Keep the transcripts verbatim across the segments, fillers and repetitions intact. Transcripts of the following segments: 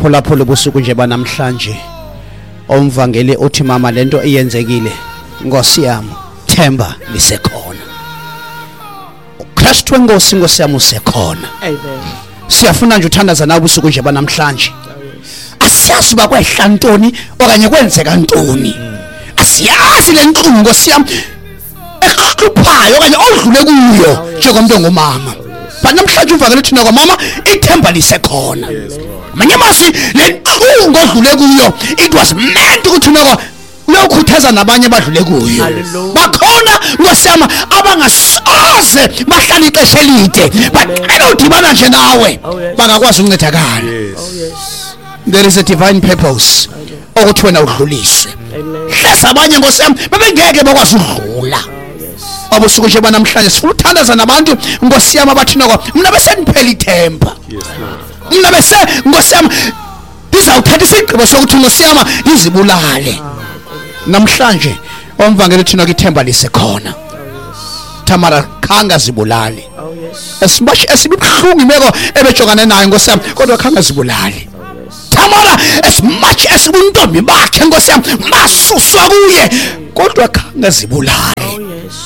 Phulaphula ubusuku nje banamhlanje. Omvangeli uthi mama lento iyenzekile. Nkosi yami, themba lisekhona. uKristu wenkosi Nkosi yami usekhona. Amen. Siyafuna nje uthandaza nawe ubusuku nje banamhlanje. Asiyazi uba kwehla ntoni okanye kwenzeka ntoni. Asiyazi le ntlungu Nkosi yami ehluphayo okanye odlule kuyo njengomuntu ongumama. But namhlanje uvakele thina kwamama ithemba lisekhona. Manye amazwi le ntlungu odlule kuyo it was meant ukuthi noko uyokhuthaza nabanye abadlule kuyo. Bakhona Nkosi yami abangasoze bahlala ixesha elide baqela udibana nje nawe bangakwazi ukuncedakala. There is a divine purpose ukuthi wena udluliswe. Hleza abanye Nkosi yami bebengeke bakwazi ukudlula. Abusuku nje banamhlanje sifuna uthandaza nabantu Nkosi yami abathi noko mina bese niphela ithemba. Mina bese Nkosi yami ndizawuthatha isigqibo sokuthi Nkosi yami ndizibulale. Namhlanje omvangeli thina ithemba lisekhona. Tamara khanga zibulale. As much as ibuhlungu imeko ebejongane nayo Nkosi yami kodwa khanga zibulale. Tamara as much as ubuntombi bakhe Nkosi yami basuswa kuye kodwa khanga zibulale.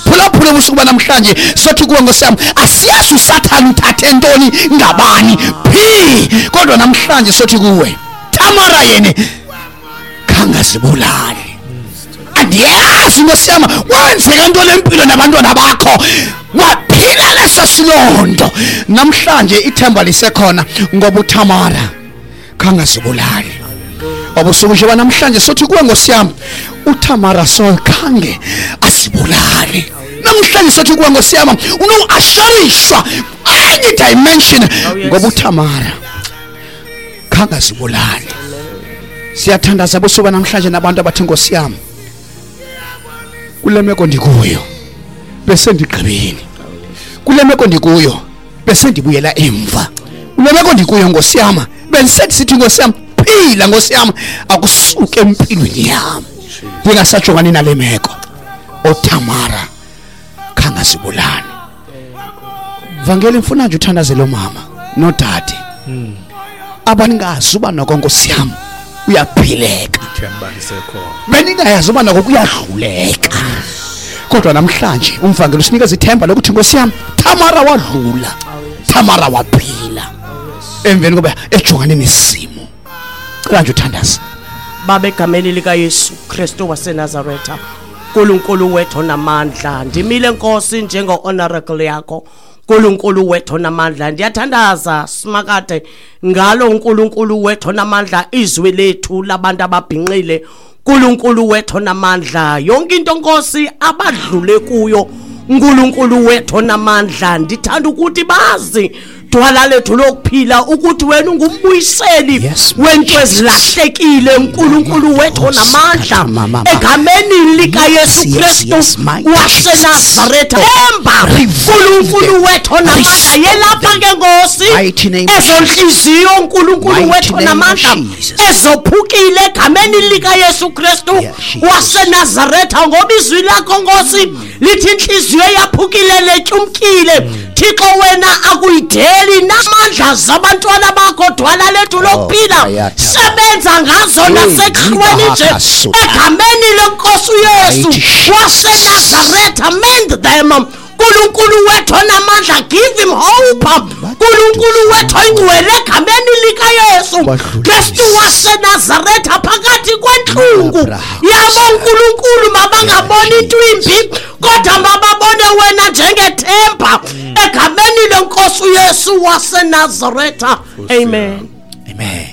Phulaphula ubusuku banamhlanje sothi kuwe Nkosi yami asiyazi uSathane uthathe ntoni ngabani phi kodwa namhlanje sothi kuwe Tamara yena khanga zibulale. Andiyazi Nkosi yami wenzeka ntoni empilo nabantwana bakho waphila leso silondo. Namhlanje ithemba lisekhona ngoba uTamara khanga zibulale. Obusuku nje banamhlanje sothi kuwe Nkosi yami uTamara so khange asibulale. Namhlanje sothi kuwe Nkosi yami unoassurishwa any dimension ngoba uTamara khange asibulale. Siyathandaza busuku namhlanje nabantu abathi Nkosi yami kule meko ndikuyo bese ndigqibile. Kule meko ndikuyo bese ndibuyela emva. Kule meko ndikuyo Nkosi yami bese sithi Nkosi yami phila Nkosi yami akusuke empilweni yami ndingasajongani nale meko. oTamara khanga sibulane. Vangeli mfuna nje uthandaze lo mama nodade abaningazi uba noko Nkosi yami uyaphileka. Ithemba lisekhona. Beningayazi uba noko kuyadluleka. Kodwa namhlanje umvangeli usinikeza ithemba lokuthi Nkosi yami Tamara wadlula. Tamara waphila. Emveni koba ejongane nesimo. Cela nje uthandaze. Baba egameni lika Yesu Kristu waseNazaretha, uNkulunkulu wethu namandla, ndimile Nkosi njengo honorable yakho. uNkulunkulu wethu namandla, ndiyathandaza simakade ngalo uNkulunkulu wethu namandla, izwi lethu labantu ababhinqile. uNkulunkulu wethu namandla, yonke into Nkosi abadlule kuyo uNkulunkulu wethu namandla, ndithanda ukuthi bazi dwala lethu lokuphila ukuthi wena ungumbuyiseli wento ezilahlekile uNkulunkulu wethu namandla egameni lika Yesu Kristu waseNazaretha. Emba uNkulunkulu wethu namandla yelapha ke Nkosi ezonhliziyo uNkulunkulu wethu namandla ezophukile egameni lika Yesu Kristu waseNazaretha, ngoba izwi lakho Nkosi lithi inhliziyo yaphukile letyumkile. Thixo wena akuyideli namandla zabantwana bakho dwala lethu lokuphila, sebenza ngazo nasekuhlweni nje egameni lenkosi uYesu waseNazaretha. Mend them uNkulunkulu wethu namandla, give him hope uNkulunkulu wethu ingcwele egameni lika Yesu Kristu waseNazaretha. Phakathi kwenhlungu yabo uNkulunkulu mabangaboni into imbi kodwa mababone wena njengethemba egameni lenkosi uYesu waseNazaretha. Amen. Amen.